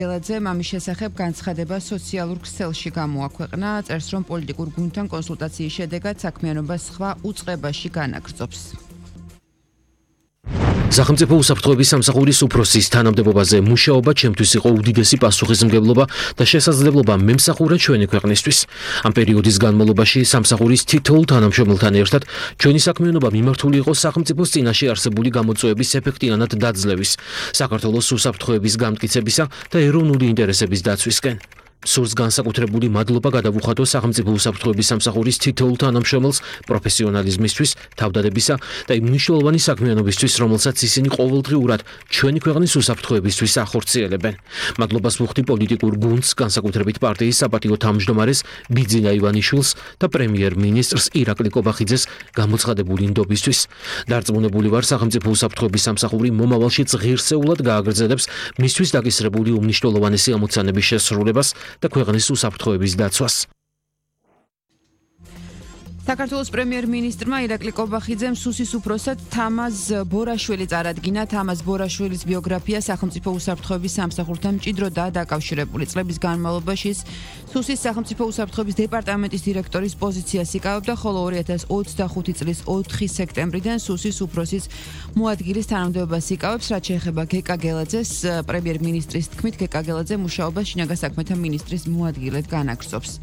ელაძე მამის შესახებ განცხადება სოციალურ ქსელში გამოაქვეყნა, წერს რომ პოლიტიკურ გუნდთან კონსულტაციის შედეგად საქმიანობა სხვა უწყებაში განაგრძობს. სახელმწიფო უსაფრთხოების სამსახურის უფროსის თანამდებობაზე მუშაობა ჩემთვის იყო უდიდესი პასუხისმგებლობა და შესაძლებლობა მემსახურა ჩვენი ქვეყნისთვის. ამ პერიოდის განმავლობაში სამსახურის თითოეულ თანამშრომელთან ერთად ჩვენი საქმიანობა მიმართული იყო სახელმწიფოს წინაშე არსებული გამოწვევების ეფექტიანად დაძლევის, საქართველოს უსაფრთხოების გამტკიცებისა და ეროვნული ინტერესების დაცვისკენ. სურს განსაკუთრებული მადლობა გადავუხატო სახელმწიფო უსაფრთხოების სამსახურის თითოეულ თანამშრომელს პროფესიონალიზმისთვის, თავდადებისა და იმ მნიშვნელოვანი საქმიანობისთვის, რომელსაც ისინი ყოველდღიურად ჩვენი ქვეყნის უსაფრთხოებისთვის ახორციელებენ. მადლობას ვუხდი პოლიტიკურ გუნდს, განსაკუთრებით პარტიის საპატიო თავმჯდომარეს ბიძინა ივანიშვილს და პრემიერ-მინისტრს ირაკლი კობახიძეს გამოცხადებული ნდობისთვის. დარწმუნებული ვარ, სახელმწიფო უსაფრთხოების სამსახური მომავალში ღირსეულად გააგრძელებს მისთვის დაკისრებული უმნიშვნელოვანესი ამოცანების შესრულებას და ქვეყნის უსაფრთხოების დაცვას. საქართველოს პრემიერ-მინისტრმა ირაკლი კობახიძემ სუსის უფროსად თამაზ ბორაშვილი წარადგინა. თამაზ ბორაშვილის ბიოგრაფია სახელმწიფო უსაფრთხოების სამსახურთან მჭიდროდაა დაკავშირებული. წლების განმავლობაში სუსის სახელმწიფო უსაფრთხოების დეპარტამენტის დირექტორის პოზიციას იკავებდა, ხოლო 2025 წლის 4 სექტემბრიდან სუსის უფროსის მოადგილის თანამდებობას იკავებს, რაც შეეხება გეკა გელაძეს. პრემიერ-მინისტრის თქმით, გეკა გელაძე მუშაობას შინაგან საქმეთა მინისტრის მოადგილედ განაგრძობს.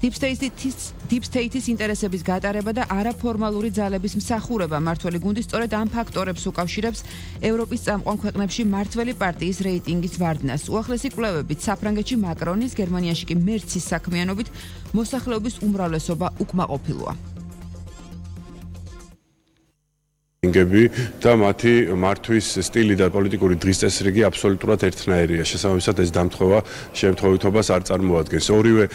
Deep State-ის ინტერესების გატარება და არაფორმალური ძალების მსახურება მართველი გუნდი სწორედ ამ ფაქტორებს უკავშირებს ევროპის წამყვან ქვეყნებში მართველი პარტიის რეიტინგის ვარდნას. უახლესი კვლევებით საფრანგეთში მაკრონის, გერმანიაში კი მერცის საქმიანობით მოსახლეობის უმრავლესობა უკმაყოფილოა. და მათი მართვის სტილი და პოლიტიკური დღის წესრიგი აბსოლუტურად ერთნაირია. შესაბამისად ეს დამთხოვა შემთხვევითობას არ წარმოადგენს. ორივე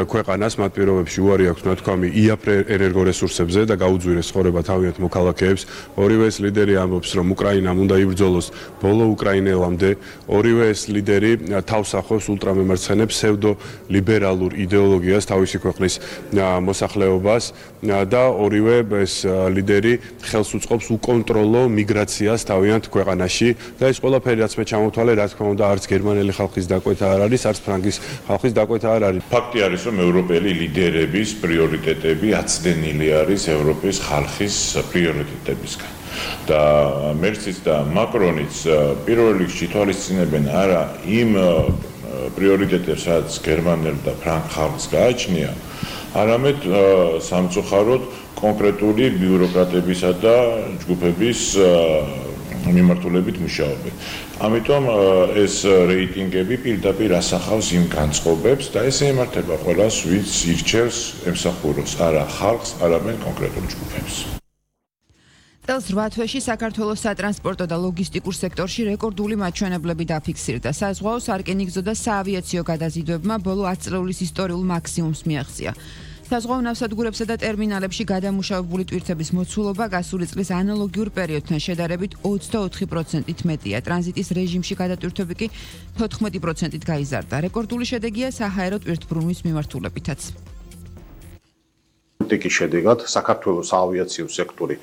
ქვეყანას მათ პირობებში უარი აქვს ნათქვამი იაფ ენერგორესურსებზე და გაუძვირეს ცხოვრება თავიანთ მოქალაქეებს. ორივე ეს ლიდერი ამბობს, რომ უკრაინამ უნდა იბრძოლოს ბოლო უკრაინელამდე. ორივე ეს ლიდერი თავს ახავს ულტრამემარცხენე ფსევდოლიბერალურ იდეოლოგიას თავისი ქვეყნის მოსახლეობას და ორივე ეს ლიდერი ხელს უწყობს უკონტროლო მიგრაციას თავიანთ ქვეყანაში და ეს ყველაფერი რაც მე ჩამოთვალე, რა თქმა უნდა, არც გერმანელი ხალხის დაკვეთა არ არის, არც ფრანგის ხალხის დაკვეთა არ არის. ფაქტი არის, რომ ევროპელი ლიდერების პრიორიტეტები აცდენილი არის ევროპის ხალხის პრიორიტეტებისგან. და მერცის და მაკრონის პირველ რიგში თვალისწინებენ არა იმ პრიორიტეტებს, რაც გერმანელ და ფრანგ ხალხს გააჩნია, არამედ სამწუხაროდ კონკრეტული ბიუროკრატებისა და ჯგუფების მიმართულებით მუშაობენ. ამიტომ ეს რეიტინგები პირდაპირ ასახავს იმ განწყობებს და ეს ემართება ყველას, ვინც ირჩევს ემსახუროს არა ხალხს, არამედ კონკრეტულ ჯგუფებს. წელს 8 თვეში საქართველოს სატრანსპორტო და ლოგისტიკურ სექტორში რეკორდული მაჩვენებლები დაფიქსირდა. საზღვაო, სარკინიგზო და საავიაციო გადაზიდვებმა ბოლო 10 წლების ისტორიულ მაქსიმუმს მიაღწია. საზღვაო ნავსადგურებსა და ტერმინალებში გადამუშავებული ტვირთების მოცულობა გასული წლის ანალოგიურ პერიოდთან შედარებით 24%-ით მეტია. ტრანზიტის რეჟიმში გადატვირთვები კი 14%-ით გაიზარდა. რეკორდული შედეგია საჰაერო ტვირთბრუნვის მიმართულებითაც. პოლიტიკის შედეგად საქართველოს საავიაციო სექტორი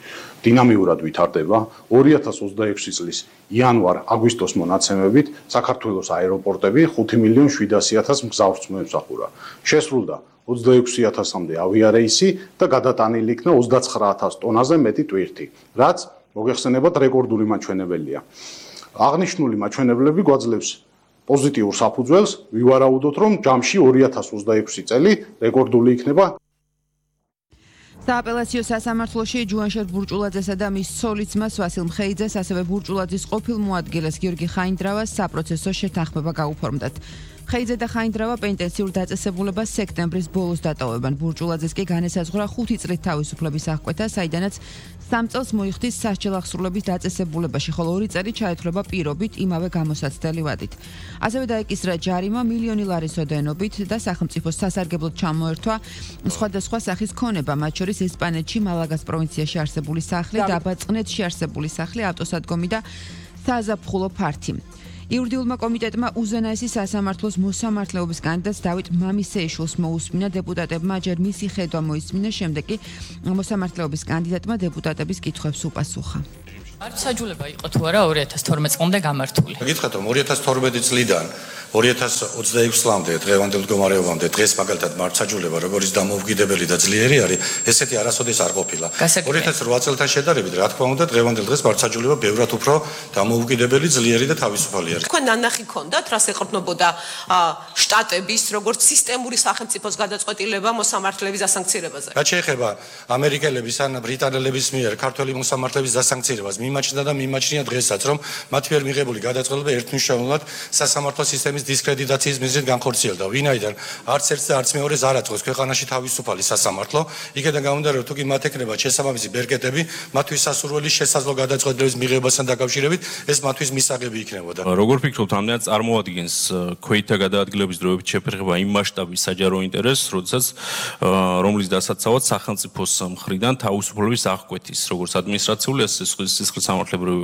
დინამიურად ვითარდება. 2026 წლის იანვარ-აგვისტოს მონაცემებით საქართველოს აეროპორტები 5.700.000 მგზავრს მოემსახურა. შესრულდა 26,000-მდე ავიარეისი და გადატანილი იქნა 29,000 ტონაზე მეტი ტვირთი, რაც მოგეხსენებათ რეკორდული მაჩვენებელია. აღნიშნული მაჩვენებლები გვაძლევს პოზიტიურ საფუძველს, ვივარაუდოთ, რომ ჯამში 2026 წელი რეკორდული იქნება. სააპელაციო სასამართლოში ჯუანშერ ბურჭულაძესა და მის ცოლ-ძმას ვასილ მხეიძეს, ასევე ბურჭულაძის ყოფილ მოადგილეს გიორგი ხაინდრავას საპროცესო შეთანხმება გაუფორმდათ. მხეიძე და ხაინდრავა პენტენსიურ დაწესებულებას სექტემბრის ბოლოს დატოვებენ. ბურჭულაძეს კი განესაზღვრა 5 წლით თავისუფლების აღკვეთა, საიდანაც 3 წელს მოიხდის სასჯელ აღსრულების დაწესებულებაში, ხოლო 2 წელი ჩაეთვლება პირობით იმავე გამოსაცდელი ვადით. ასევე დაეკისრა ჯარიმა მილიონი ლარის ოდენობით და სახელმწიფოს სასარგებლოდ ჩამოერთვა სხვადასხვა სახის ქონება, მათ შორის ესპანეთში მალაგას პროვინციაში არსებული სახლი, დაბაწყნეთში არსებული სახლი, ავტოსადგომი და საზაფხულო ფართი. იურიდიულმა კომიტეტმა უზენაესი სასამართლოს მოსამართლეობის კანდიდატს დავით მამისეიშვილს მოусმინა. დეპუტატებმა ჯერ მისი ხედვა მოისმინეს, შემდეგ კი მოსამართლეობის კანდიდატმა დეპუტატების კითხვებს უპასუხა. მართლმსაჯულება იყო თუ არა 2012 წლამდე გამართული. გითხრათ რომ 2012 წლიდან 2026 წლამდე დღევანდელ მდგომარეობამდე დღეს მაგალითად მართლმსაჯულება როგორც დამოუკიდებელი და ძლიერი არის, ესეთი არასოდეს არ ყოფილა. 2008 წელთან შედარებით, რა თქმა უნდა, დღევანდელ დღეს მართლმსაჯულება ბევრად უფრო დამოუკიდებელი, ძლიერი და თავისუფალი არის. თქვენ ნანახი გქონდათ, რას ეყრდნობოდა შტატების როგორც სისტემური სახელმწიფოს გადაწყვეტილება მოსამართლეების დასანქცირებაზე? რაც შეეხება ამერიკელების ან ბრიტანელების მიერ ქართველი მოსამართლეების დასანქცირებას, მიმაჩნდა და მიმაჩნია დღესაც, რომ მათ მიერ მიღებული გადაწყვეტილება ერთმნიშვნელოვნად სასამართლო სისტემის დისკრედიტაციის მიზნით განხორციელდა. ვინაიდან არც ერთს და არც მეორეს არ აწყვეს ქვეყანაში თავისუფალი სასამართლო, იქედან გამომდინარე, თუ კი მათ ექნება შესაბამისი ბერკეტები, მათთვის სასურველი შესაძლო გადაწყვეტილების მიღებასთან დაკავშირებით, ეს მათთვის მისაღები იქნებოდა. როგორ ფიქრობთ, ამდენად წარმოადგენს ქვეითთა გადაადგილების დროებით შეფერხება იმ მასშტაბის საჯარო ინტერესს, როდესაც რომლის დასაცავად სახელმწიფოს მხრიდან თავისუფლების აღკვეთის, როგორც ადმინისტრაციული, ასე სისხლის სამართლებრივ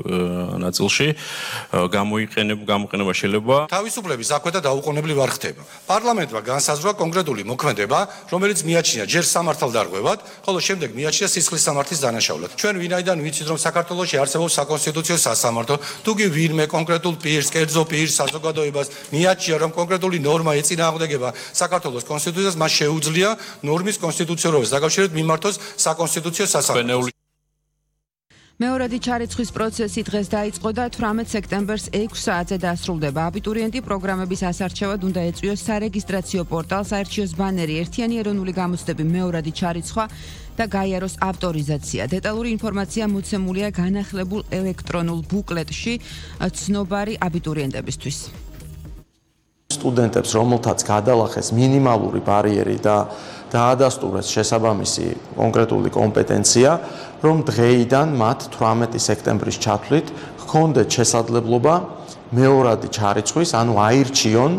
ნაწილში გამოიყენება შეიძლება. თავისუფლების აღკვეთა დაუყოვნებლივ არ ხდება. პარლამენტმა განსაზღვრა კონკრეტული მოქმედება, რომელიც მიაჩნია ჯერ სამართალდარღვევად, ხოლო შემდეგ მიაჩნია სისხლის სამართლის დანაშაულად. ჩვენ ვინაიდან ვიცით, რომ საქართველოში არსებობს საკონსტიტუციო სასამართლო, თუ კი ვინმე კონკრეტულ პირს, კერძო პირს, საზოგადოებას მიაჩნია, რომ კონკრეტული ნორმა ეწინააღმდეგება საქართველოს კონსტიტუციას, მას შეუძლია ნორმის კონსტიტუციურობას დაკავშირებით მიმართოს საკონსტიტუციო სასამართლოს. მეორადი ჩარიცხვის პროცესი დღეს დაიწყო და 18 სექტემბერს 6 საათზე დასრულდება. აბიტურიენტი პროგრამების ასარჩევად უნდა ეწვიოს სარეგისტრაციო პორტალს, აერჩიოს ბანერი ერთიანი ეროვნული გამოცდები მეორადი ჩარიცხვა და გაიაროს ავტორიზაცია. დეტალური ინფორმაცია მოცემულია განახლებულ ელექტრონულ ბუკლეტში ცნობარი აბიტურიენტებისთვის. სტუდენტებს, რომელთაც გადალახეს მინიმალური ბარიერი და დაადასტურეს შესაბამისი კონკრეტული კომპეტენცია, რომ დღეიდან მათ 18 სექტემბრის ჩათვლით ჰქონდეთ შესაძლებლობა მეორადი ჩარიცხვის, ანუ აირჩიონ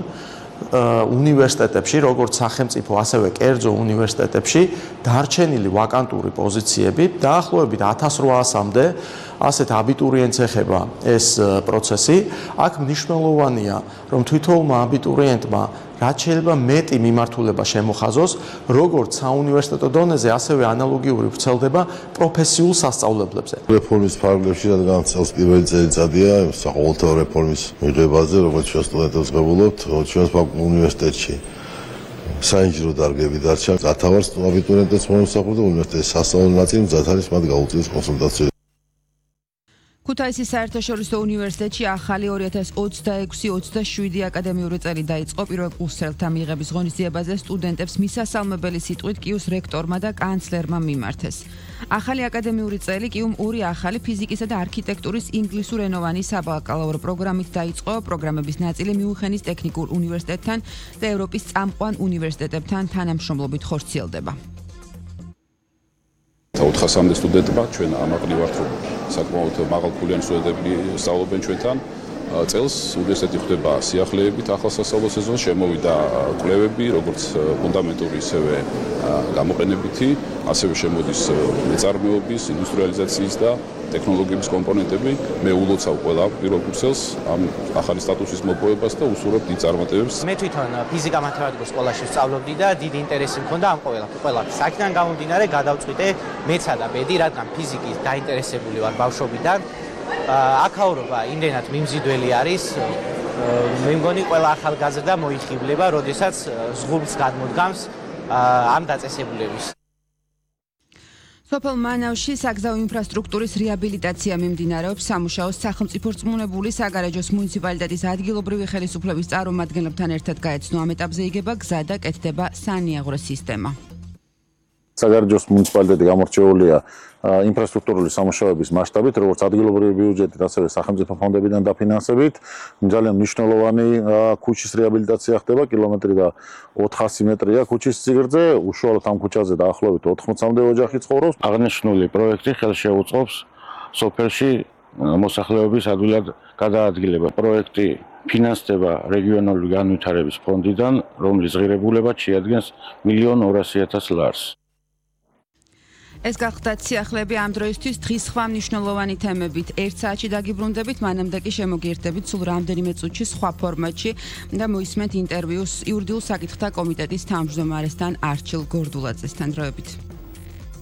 უნივერსიტეტებში, როგორც სახელმწიფო, ასევე კერძო უნივერსიტეტებში დარჩენილი ვაკანტური პოზიციები, დაახლოებით 1800-მდე ასეთ აბიტურიენტს ეხება ეს პროცესი. აქ მნიშვნელოვანია, რომ თვითონმა აბიტურიენტმა რაც შეიძლება მეტი მიმართულება შემოხაზოს, როგორც საუნივერსიტეტო დონეზე, ასევე ანალოგიური ვრცელდება პროფესიულ სასწავლებლებზე. რეფორმის ფარგლებში რადგან წელს პირველი წელიწადია საყოველთაო რეფორმის მიღებაზე, როგორც ჩვენ სტუდენტებს ვღებულობთ, ჩვენს უნივერსიტეტში საინჟინრო დარგები დარჩა. სათავარს აბიტურიენტებს მომსახურდა უნივერსიტეტის სასწავლო ნაწილი, მზად არის მათ გაუწიოს კონსულტაცია. ქუთაისის საერთაშორისო უნივერსიტეტში ახალი 2026-27 აკადემიური წელი დაიწყო. პირველ კურსელთა მიღების ღონისძიებაზე სტუდენტებს მისასალმებელი სიტყვით კიუს რექტორმა და კანცლერმა მიმართეს. ახალი აკადემიური წელი კიუმ ორი ახალი ფიზიკისა და არქიტექტურის ინგლისურენოვანი საბაკალავრო პროგრამით დაიწყო. პროგრამების ნაწილი მიუნხენის ტექნიკურ უნივერსიტეტთან და ევროპის წამყვან უნივერსიტეტებთან თანამშრომლობით ხორციელდება. 400-მდე სტუდენტმა ჩვენ ამაყლი ვართ, რომ საკმაოდ მაღალფულიანი სტუდენტები სწავლობენ ჩვენთან. წელს უნივერსიტეტი ხვდება სიახლეებით ახალ სასწავლო სეზონს, შემოვიდა კვლევები, როგორც ფუნდამენტური, ისევე გამოყენებითი, ასევე შემოდის მეწარმეობის, ინდუსტრიალიზაციის და ტექნოლოგიების კომპონენტები. მე ულოცავ ყველა პირველ კურსელს ამ ახალი სტატუსის მოპოვებას და უსურვებ დიდ წარმატებებს. მე თვითონ ფიზიკა-მათემატიკის სკოლაში ვსწავლობდი და დიდი ინტერესი მქონდა ამ ყველაფერს. აქედან გამომდინარე გადავწყვიტე მეცა და ბედი, რადგან ფიზიკის დაინტერესებული ვარ ბავშვობიდან. აქაურობა იმდენად მიმზიდველი არის, მე მგონი ყველა ახალგაზრდა მოიხიბლება, როდესაც ზღურბს გადმოდგამს ამ დაწესებულების. სოფელ მანავში საგზაო ინფრასტრუქტურის რეაბილიტაცია მიმდინარეობს. სამუშაოს სახელმწიფო რწმუნებული საგარეჯოს მუნიციპალიტეტის ადგილობრივი ხელისუფლების წარმომადგენლებთან ერთად გაეცნო. ამ ეტაპზე იგება გზა და კეთდება სანიაღრო სისტემა. საგარეჯოს მუნიციპალიტეტი გამორჩეულია ინფრასტრუქტურული სამუშაოების მასშტაბით, როგორც ადგილობრივი ბიუჯეტით, ასევე სახელმწიფო ფონდებიდან დაფინანსებით. ძალიან მნიშვნელოვანი ქუჩის რეაბილიტაცია ხდება, კილომეტრი და 400 მეტრია ქუჩის სიგრძე, უშუალოდ ამ ქუჩაზე დაახლოებით 80-მდე ოჯახი ცხოვრობს. აღნიშნული პროექტი ხელს შეუწყობს სოფელში მოსახლეობის ადვილად გადაადგილება. პროექტი ფინანსდება რეგიონალური განვითარების ფონდიდან, რომლის ღირებულებად შეადგენს 1.200.000 ლარს. ეს გახდათ სიახლეები ამ დროისთვის. დღის სხვა მნიშვნელოვანი თემებით 1 საათში დაგიბრუნდებით, მანამდე კი შემოგიერთდებით სულ რამდენიმე წუთში სხვა ფორმატში და მოისმენთ ინტერვიუს იურიდიულ საკითხთა კომიტეტის თავმჯდომარესთან არჩილ გორდულაძესთან. დროებით.